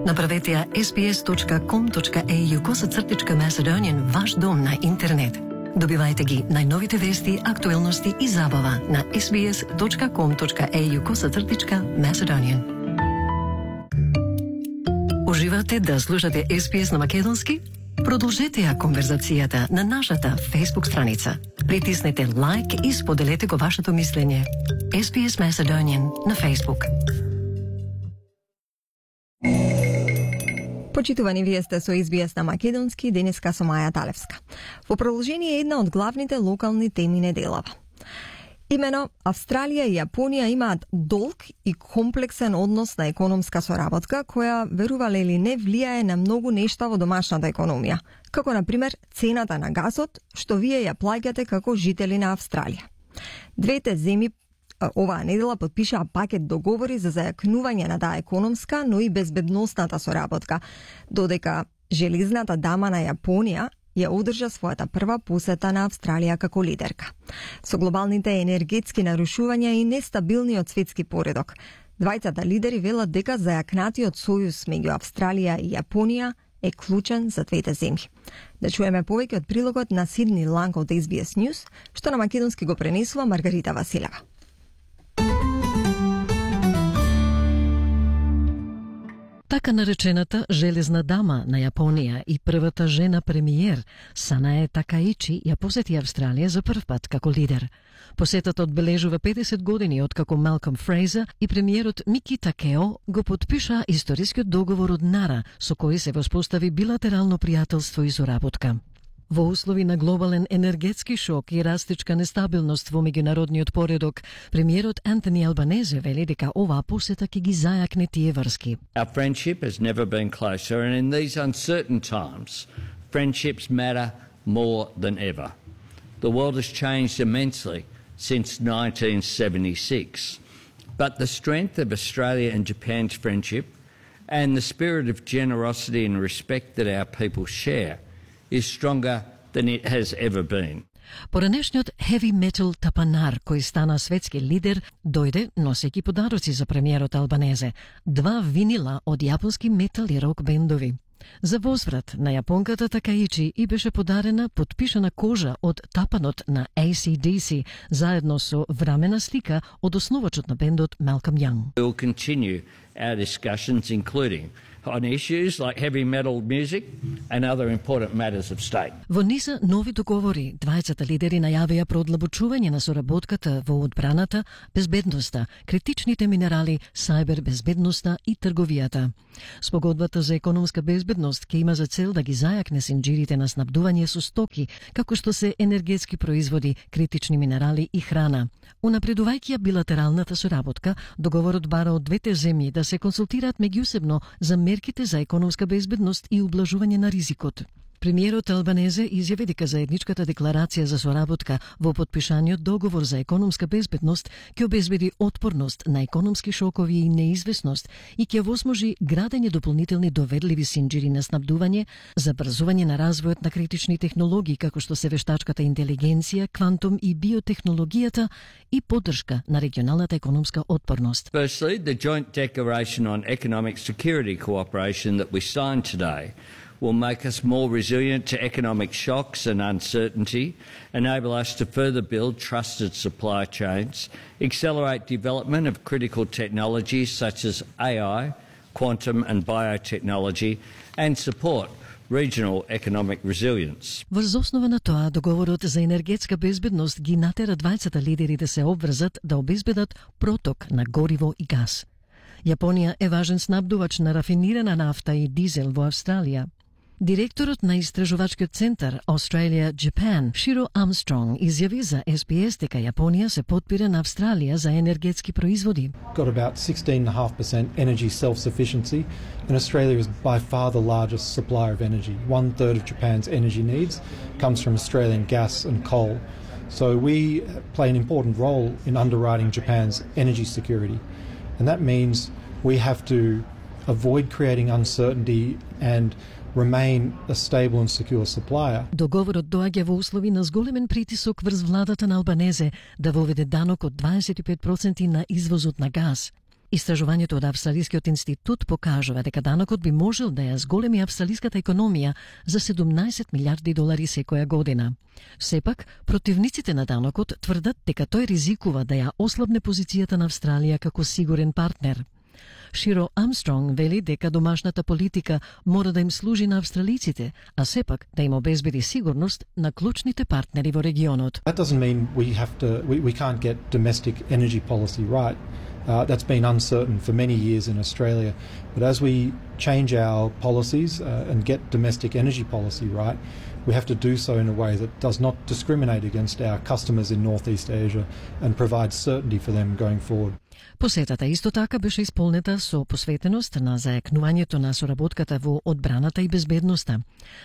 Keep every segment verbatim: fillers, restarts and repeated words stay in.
Направете ја ес би ес точка ком точка ей ю косацртичка Macedonian ваш дом на интернет. Добивајте ги најновите вести, актуелности и забава на ес би ес точка ком точка ей ю косацртичка Macedonian. Уживате да слушате ес би ес на македонски? Продолжете ја конверзацијата на нашата Facebook страница. Притиснете лайк и споделете го вашето мислење. ес би ес Macedonian на Facebook. Почитувани, вие сте со ес би ес на македонски, денеска со Маја Талевска. Во продолжение е една од главните локални теми неделава. Имено, Австралија и Јапонија имаат долг и комплексен однос на економска соработка, која, верувале или не, влијае на многу нешта во домашната економија, како, например, цената на газот, што вие ја плаќате како жители на Австралија. Двете земји оваа недела подпишаа пакет договори за зајакнување на таа економска, но и безбедносната соработка, додека железната дама на Јапонија ја одржа својата прва посета на Австралија како лидерка. Со глобалните енергетски нарушувања и нестабилниот светски поредок, двајцата лидери велат дека зајакнатиот сојуз меѓу Австралија и Јапонија е клучен за двете земји. Да чуеме повеќе од прилогот на Сидни Ланг од ес би ес News, што на македонски го пренесува Маргарита Василева. Така наречената железна дама на Јапонија и првата жена премиер, Санае Такаичи, ја посети Австралија за прв пат како лидер. Посетата одбележува педесет години откако Малком Фрейзер и премиерот Мики Такео го подпишаа историскиот договор од Нара, со кој се воспостави билатерално пријателство и соработка. Во услови на глобален енергетски шок и растичка нестабилност во меѓународниот поредок, премиерот Антони Албанезе вели дека оваа посета ќе ги зајакне тие врски. Our friendship has never been closer, and in these uncertain times, friendships matter more than ever. The world has changed immensely since nineteen seventy-six, but the strength of Australia and Japan's friendship and the spirit of generosity and respect that our people share is stronger than it has ever been. Поранешниот heavy metal тапанар, кој стана светски лидер, дојде носејќи подароци за премиерот Албанезе, два винила од јапонски метал и рок бендови. За возврат на јапонката Такаичи и беше подарена подпишана кожа од тапанот на ей си ди си, заедно со врамена слика од основачот на бендот Малком Јанг. We will continue our discussions, including on issues like heavy metal music and other important matters of state. Во низ нови договори, двајцата лидери најавија продлабочување на соработката во одбраната, безбедноста, критичните минерали, сајбер безбедноста и трговијата. Спогодбата за економска безбедност ќе има за цел да ги зајакне синџирите на снабдување со стоки, како што се енергетски производи, критични минерали и храна. Унапредувајќи ја билатералната соработка, договорот бара од двете земји да се консултираат меѓусебно за мерките за економска безбедност и ублажување на ризикот. Премиерот Албанезе изјави дека заедничката декларација за соработка во подпишаниот договор за економска безбедност ќе обезбеди отпорност на економски шокови и неизвестност и ќе возможи градење дополнителни доверливи синџири на снабдување, забрзување на развојот на критични технологии како што се вештачката интелигенција, квантум и биотехнологијата и поддршка на регионалната економска отпорност. Firstly, the joint declaration on economic security cooperation that we signed today will make us more resilient to economic shocks and uncertainty, enable us to further build trusted supply chains, accelerate development of critical technologies such as A I, quantum and biotechnology, and support regional economic resilience. Врз основа на тоа, договорот за енергетска безбедност ги натера двајцата лидери да се обврзат да обезбедат проток на гориво и газ. Јапонија е важен снабдувач на рафинирана нафта и дизел во Австралија. Директорот на истражувачкиот центар Australia Japan, Shiro Armstrong, изјави за ес би ес дека Јапонија се подпира на Австралија за енергетски производи. Got about sixteen point five percent energy self-sufficiency, and Australia is by far the largest supplier of energy. One third of Japan's energy needs comes from Australian gas and coal. So we play an important role in underwriting Japan's energy security. And that means we have to avoid creating uncertainty and remain a stable and secure supplier. Договорот доаѓа во услови на зголемен притисок врз владата на Албанезе да воведе данок од дваесет и пет проценти на извозот на газ. Истражувањето од Австралискиот институт покажува дека данокот би можел да ја зголеми австралиската економија за седумнаесет милиарди долари секоја година. Сепак, противниците на данокот тврдат дека тој ризикува да ја ослабне позицијата на Австралија како сигурен партнер. Широ Армстронг вели дека домашната политика мора да им служи на австралиците, а сепак да им обезбеди сигурност на клучните партнери во регионот. That doesn't mean we have to we, we can't get domestic energy policy right. Uh, that's been uncertain for many years in Australia. But as we change our policies uh, and get domestic energy policy right, we have to do so in a way that does not discriminate against our customers in Northeast Asia and provide certainty for them going forward. Посетата исто така беше исполнета со посветеност на зајакнувањето на соработката во одбраната и безбедноста.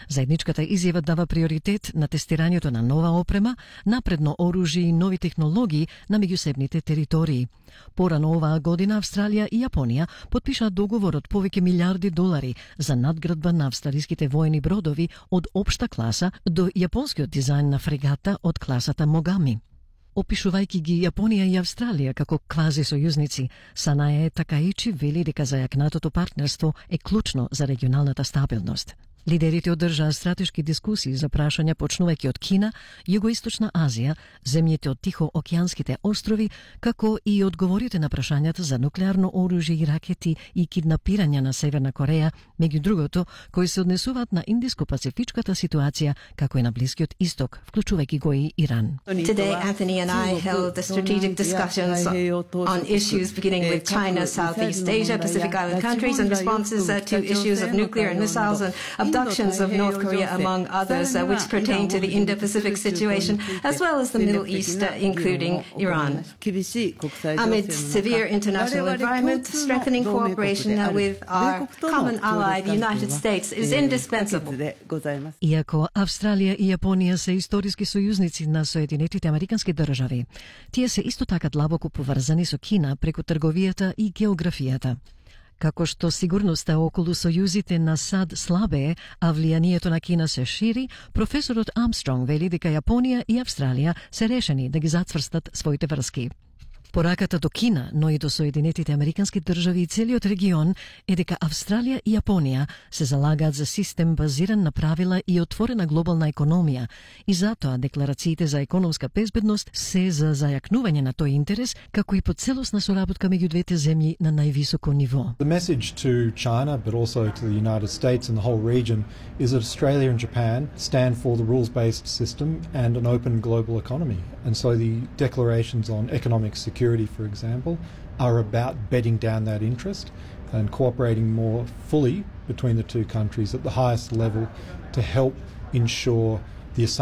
Заедничката изјава дава приоритет на тестирањето на нова опрема, напредно оружје и нови технологии на меѓусебните територии. Порано оваа година Австралија и Јапонија потпишаа договор од повеќе милиарди долари за надградба на австралиските воени бродови од општа класа до јапонскиот дизајн на фрегата од класата Могами. Опишувајќи ги Јапонија и Австралија како квази сојузници, Санае Такаичи вели дека зајакнатото партнерство е клучно за регионалната стабилност. Лидерите одржаа стратешки дискусии за прашања почнувајќи од Кина, Југоисточна Азија, земјите од Тихоокеанските острови, како и одговорите на прашањата за нуклеарно оружје и ракети и киднапирање на Северна Кореја, меѓу другото, кои се однесуваат на индиско-пацифичката ситуација, како и на Блискиот Исток, вклучувајќи го и Иран. Today, Anthony and I held the strategic discussions on issues beginning with China, Southeast Asia, Pacific Island countries, and responses uh, to issues of nuclear and missiles and abductions of North Korea, among others, uh, which pertain to the Indo-Pacific situation, as well as the Middle East, uh, including Iran. Amid severe international environment, strengthening cooperation uh, with our common ally, the United States, is indispensable. Иако Австралија и Јапонија се историски сојузници на Соединетите Американски држави, тие се исто така длабоко поврзани со Кина преку трговијата и географијата. Како што сигурноста околу сојузите на САД слабее, а влијанието на Кина се шири, професорот Армстронг вели дека Јапонија и Австралија се решени да ги зацврстат своите врски. Пораката до Кина, но и до Соединетите Американски држави и целиот регион е дека Австралија и Јапонија се залагаат за систем базиран на правила и отворена глобална економија, и затоа декларациите за економска безбедност се за зајакнување на тој интерес, како и по целосна соработка меѓу двете земји на највисоко ниво. The message to China, but also to the United States and the whole region, is that Australia and Japan stand for the rules-based system and an open global economy. And so the declarations on economic security, for example, are about bedding down that interest and cooperating more fully between the two countries at the highest level to help ensure the